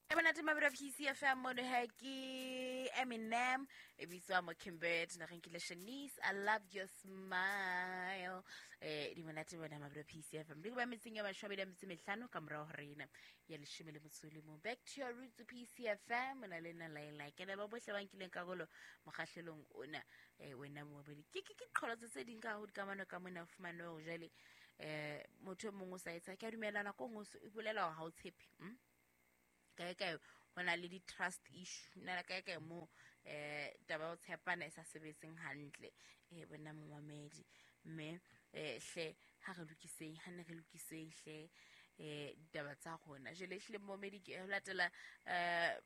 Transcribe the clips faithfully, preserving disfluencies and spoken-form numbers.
E monate mabelo P C F M mono ha ke Eminem e bitswa Mockingbird na re nkile Shanice I love your smile eh di monate bona mabelo P C F M di ba metseng ya mashome a metso e mehlano ka morao ho rena ya leshome le motso le mong. Back to your roots P C F M na le nna Laila ke le ba bohle ba nkileng karolo mokgahlelong ona eh wena momamedi ke ke ke qholotso tse ding ka ho dikamano ka mona fumane hore jwale eh motho e mong o sa etsa ke a dumelana ko ngwe o bolela hore ha o tshepe mm? Kae kae ho na le di-trust issue na kae kae mo eh taba ya ho tshepana e sa sebetseng hantle eh bona momamedi mme eh hle ha re lokiseng ha ne re lokiseng hle eh ditaba tsa rona jwale hle momamedi ke ho latela eh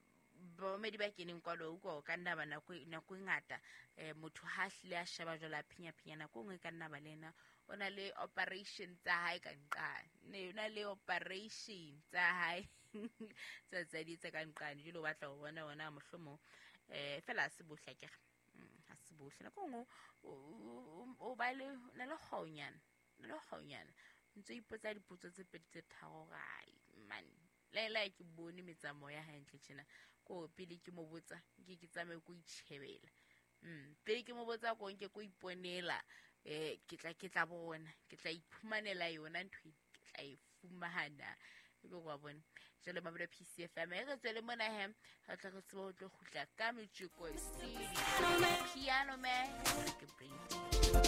bomamedi ba keneng kwalo utlwa o ka nna ba nako nako e ngata eh motho ha hlile a sheba jwale a phinya phinya nako e nngwe e ka nna ba le yena o na le operation tsa hae ka nqane ne o na le operation tsa hae tsa tsa di tsa ka nqane jwale o batla ho bona ona mohlomong eh fela se bohle akere ha se bohle nako nngwe o ba le na le kgonyana na le kgonyana ntse ipotsa dipotso tse pedi tse tharo rai man Laila ke bone metsamao ya hae ntle tjena ko pele ke mo botsa ke ke tsamaye ko itjhebela mm pele ke mo botsa ko nke ko iponela eh ke tla ke tla bona ke tla iphumanela yona ntho e ke tla e fumana ebe wa bona jwale mabelo P C F M e re tswele mona he re tla re tsebe ho tlo kgutla ka metjeko piano man ke bring.